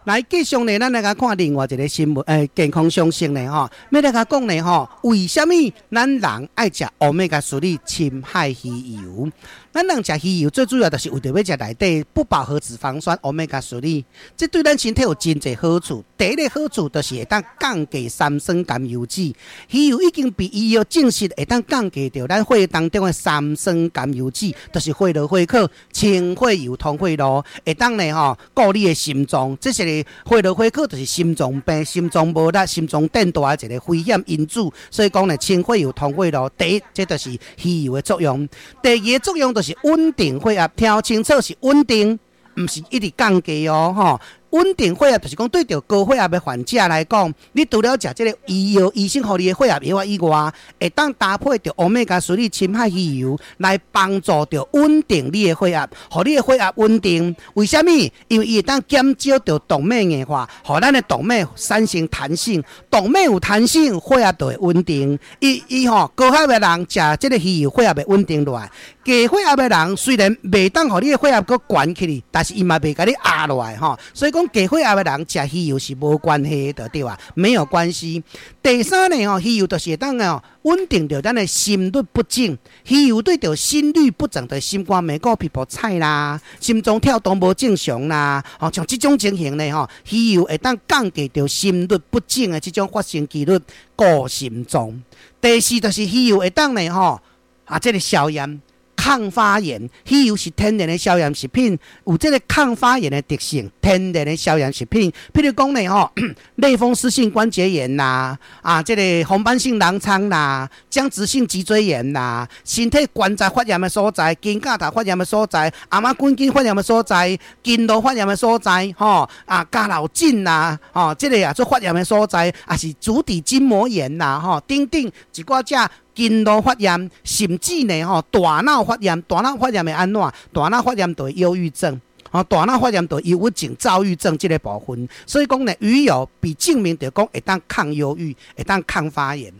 來繼續呢，咱來共看另外一个新聞，健康常識呢，吼，欲來共講呢，吼，為啥物咱人愛食歐米伽3深海魚油？咱人食魚油最主要就是為著欲食內底不飽和脂肪酸歐米伽3，這對咱身體有真濟好處。第一个好處就是會當降低三酸甘油酯，魚油已經被醫藥證實會當降低著咱血當中的三酸甘油酯，就是血濃血可、清血油、通血路，會當呢吼顧你的心臟。這是血濃血可，就是心臟病、心臟無力、心臟變大的一个危險因子。所以講呢，清血油、通血路，第一，這就是魚油的作用。第二个作用就是穩定血壓，聽清楚是穩定，毋是一直降低哦，吼。穩定血壓就是講對著高血壓的患者來講，你除了食這个醫藥醫生予你的血壓藥以外，會當搭配著歐米伽3深海魚油來幫助著穩定你的血壓，予你的血壓穩定。為啥物？因為伊會當減少著動脈硬化，予咱的動脈產生彈性，動脈有彈性，血壓就會穩定。伊伊吼高血壓的人食這个魚油，血壓會穩定落來。低血壓的人雖然袂當予你的血壓閣懸起去，但是伊嘛袂共你壓落來吼。所以講低血壓的人食魚油是無關係的，對吧？沒有關係。第三呢，吼，魚油就是會當哦穩定著咱的心律不整。魚油對著心律不整的心肝脈鼓皮膚菜啦，心臟跳動無正常啦，吼，像這種情形呢，吼，魚油會當降低著心律不整的這種發生幾率，顧心臟。第四就是魚油會當呢，吼，啊，這个消炎。抗發炎，魚油是天然的消炎食品，有這个抗發炎的特性。天然的消炎食品，譬如講呢，吼，類風濕性關節炎啦，啊，這个紅斑性狼瘡啦，僵直性脊椎炎啦，身體關節發炎的所在，肩胛頭發炎的所在，頷仔骨筋發炎的所在，筋膜發炎的所在，吼，啊，膠老疹啦，吼，這个也做發炎的所在，也是足底筋膜炎啦，吼，等等一寡隻。筋膜發炎，甚至呢吼，大腦發炎，大腦發炎會按怎？大腦發炎就會憂鬱症，吼，大腦發炎就憂鬱症、躁鬱症這个部分。所以講呢，魚油被證明著講會當抗憂鬱，會當抗發炎。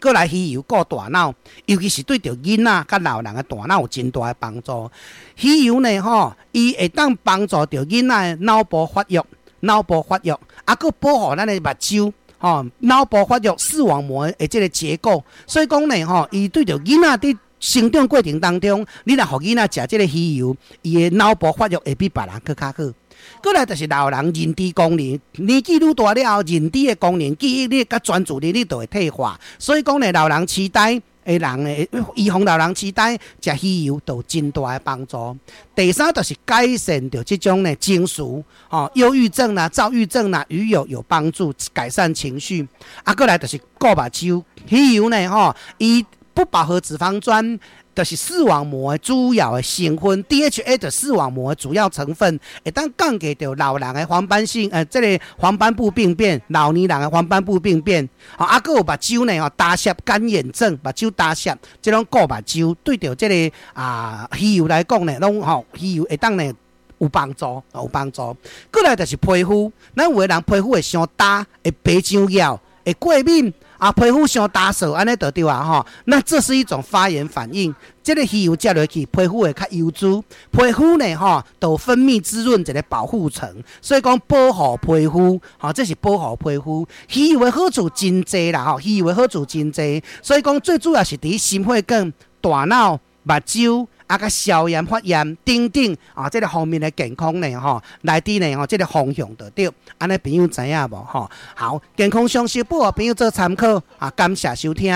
閣來魚油顧大腦，尤其是對著囡仔佮老人的大腦有真大的幫助。魚油呢吼，伊會當幫助著囡仔的腦部發育，腦部發育，啊，閣保護咱的目睭。吼，腦部發育視網膜的這个結構，所以講呢，吼，伊對著囡仔佇成長過程當中，你若予囡仔食這个魚油，伊的腦部發育會比別人閣較好。閣來就是老人認知功能，年紀愈大了後，認知的功能、記憶力佮專注力都會退化。所以講呢，老人痴呆的人呢，預防老人痴呆，食魚油都有真大的幫助。第三就是改善著這種呢情緒，吼，憂鬱症啦、躁鬱症啦，魚油有幫助改善情緒。啊，閣來就是顧目睭，魚油呢，吼，伊不飽和脂肪酸就是視網膜的主要的成分，DHA 的視網膜的主要成分，會當降低著老人的黃斑性，這个黃斑部病變，老年人的黃斑部病變，吼，啊，閣有目睭呢，吼，乾澀乾眼症，目睭乾澀，這攏顧目睭，對著這个啊魚油來講呢，攏吼魚油會當呢有幫助，有幫助。閣來就是皮膚，咱有的人皮膚會傷焦，會白上蟯，會過敏。啊，皮膚傷焦燥，按呢就對啊吼。那這是一種發炎反應。這个魚油食落去，皮膚會較油滋。皮膚呢，吼，都分泌滋潤一个保護層，所以講保護皮膚，吼，這是保護皮膚。魚油的好處真濟啦，吼，魚油的好處真濟。所以講最主要是佇心血管、大腦、目睭。啊，佮消炎發炎等等啊，這个方面的健康呢，吼，來佇呢，吼，這个方向就對。按呢朋友知影無？吼，好，健康常識報予朋友做參考啊，感謝收聽。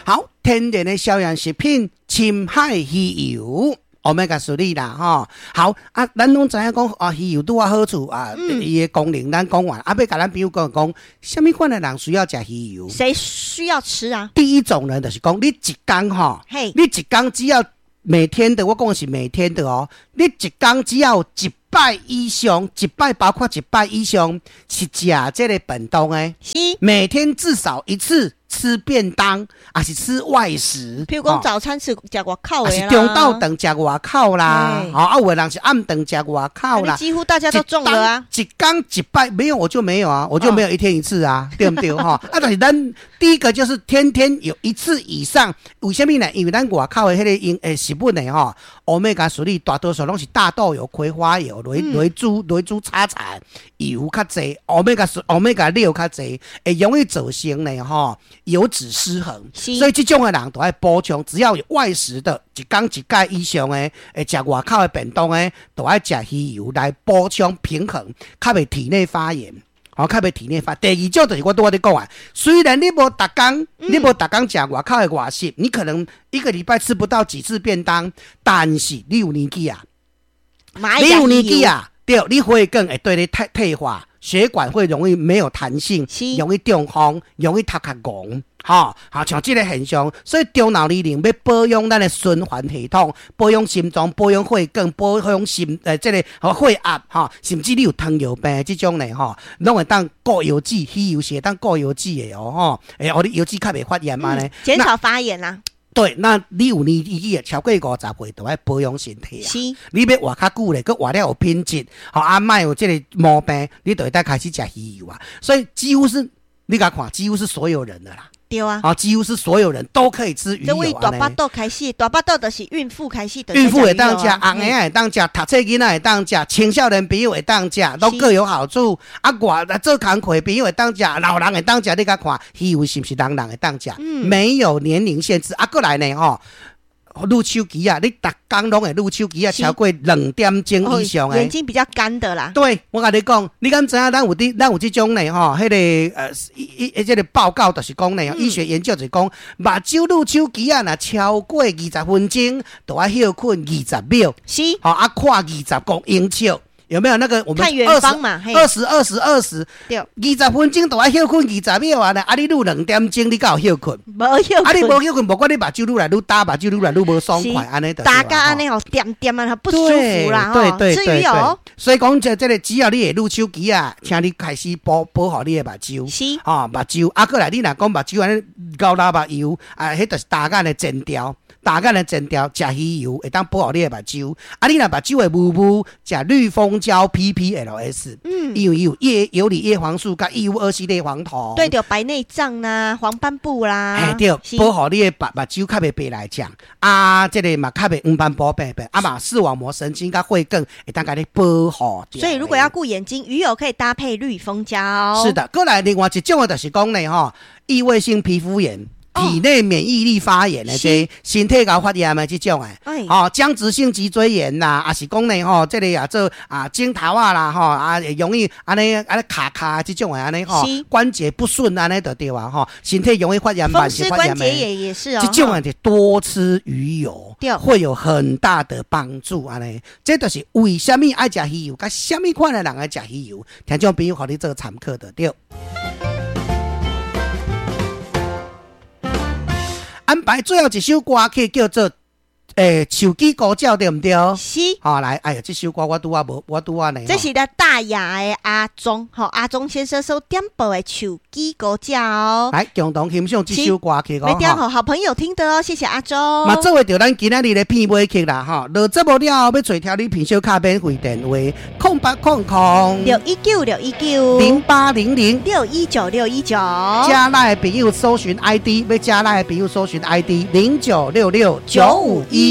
好，天然的消炎食品，深海魚油。歐米伽3啦，吼，好啊，咱攏知影講啊，魚油拄仔好處啊，伊的功能咱講完，啊，欲共咱朋友講講，啥物款的人需要食魚油？誰需要吃啊？第一種人就是講，你一工吼，你一工只要每天的，我講的是每天的哦，你一工只要一擺以上，一擺包括一擺以上是食這个便當的，每天至少一次。吃便當，抑是吃外食。譬如講早餐是食外口的啦，抑是中晝頓食外口啦，吼啊，有的人是暗頓食外口啦。幾乎大家都中了啊！一工一擺沒有我就沒有啊，我就沒有一天一次啊，對毋對？吼啊，但是咱第一個就是天天有一次以上，為啥物呢？因為咱外口的彼個營食物呢，吼，Omega 3大多數攏是大豆油、葵花油、雷豬叉柴油較濟，Omega 6較濟，會容易造成呢吼油脂失衡。所以這種的人都愛補充，只要有外食的，一工一擺以上的，會食外口的便當的，都愛食魚油來補充平衡，較袂體內發炎。吼，較袂體內發。第二種就是我拄仔咧講啊，雖然你無逐工，你無逐工食外口的外食，你可能一個禮拜吃不到幾次便當，但是你有年紀啊，你有年紀啊，對，你血管會對你退化，血管會容易沒有彈性，容易中風，容易頭殼戇。吼，好像這個現象，所以中老年人欲保養咱的循環系統，保養心臟，保養血管，保養心這個血壓，吼，甚至你有糖尿病這種呢，吼，攏會當顧腰子，魚油是會當顧腰子的哦，吼，會予你腰子較袂發炎按呢，減少發炎啦。對，那你有年紀超過50歲，就愛保養身體啊。是，你欲活較久咧，閣活了有品質，吼，啊，莫有這個毛病，你就會當開始食魚油啊。所以幾乎是你共看，幾乎是所有人的啦。對啊，啊，幾乎是所有人都可以吃魚油。這位大腹肚開始，大腹肚就是孕婦開始。孕婦會當食，紅嬰仔會當食，讀冊囡仔會當食，青少年朋友會當食，攏各有好處。啊，我做工課朋友會當食，老人會當食，你共看，魚油是毋是人人會當食？沒有年齡限制。啊，閣來呢，吼，攄手機啊，你逐工攏會攄手機啊，超過2點鐘以上的。眼睛比較乾的啦。對，我共你講，你敢知影？咱有這種呢？吼，彼個這個報告就是講呢，醫學研究就是講，目睭攄手機啊，若超過20分鐘，就愛歇睏20秒。是。吼啊，看20公英尺。有沒有那個我們看遠方嘛？二十二十二十，對，20分鐘就愛歇睏20秒啊！啊，你攄2點鐘，你敢有歇睏？無歇睏。啊，你無歇睏，無管你目睭愈來愈焦，目睭愈來愈無爽快，按呢就。大家按呢吼，點點啊，不舒服啦，對對對對。所以講這個，只要你會攄手機啊，請你開始保護你的目睭。是。吼，目睭啊，閣來你若講目睭按呢流流目油啊，彼就是焦眼的前兆。焦眼的前兆，食魚油會當保護你的目睭。啊，你若目睭會霧霧，食綠蜂膠 PPLS，因為有葉游離葉黃素佮異戊二烯類黃酮。對，著白內障啦，黃斑部啦。嘿，對，保護你的目睭較袂白內障。啊，這個嘛較袂黃斑部病變。啊嘛，視網膜神經佮血管會當共你保護。所以如果要顧眼睛，魚油可以搭配綠蜂膠。是的，閣來另外一種的就是講呢，吼，異位性皮膚炎。體內免疫力發炎的這身體𠢕發炎的這種的，吼，僵直性脊椎炎啦，抑是講呢，吼，這個也做啊，枕頭仔啦，吼，啊，容易按呢按呢卡卡這種的按呢吼，關節不順按呢就對啊，吼，身體容易發炎，風濕關節炎也是哦。這種的就多吃魚油，會有很大的幫助按呢。這就是為啥物愛食魚油，佮啥物款的人愛食魚油，聽眾朋友，予你做參考就對。安排最後一首歌曲叫做手機呼叫對毋對？是。好來，哎呀，這首歌我拄仔無，我拄仔呢。這是咧大雅的阿忠，吼，阿忠先生所點播的手機呼叫。來，共同欣賞這首歌曲哦。欲點予好朋友聽的哦，謝謝阿忠。嘛，做伙著咱今仔日的片尾曲啦，吼。落節目了後，欲揣調理品小卡免費電話：0800 619 619 0800 619 619。加 LINE 的朋友搜尋 ID，欲加 LINE 的朋友搜尋 ID 0966951666，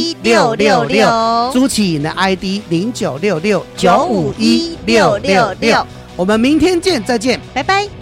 朱啟穎的 ID 0966951666，我們明天見，再見，拜拜。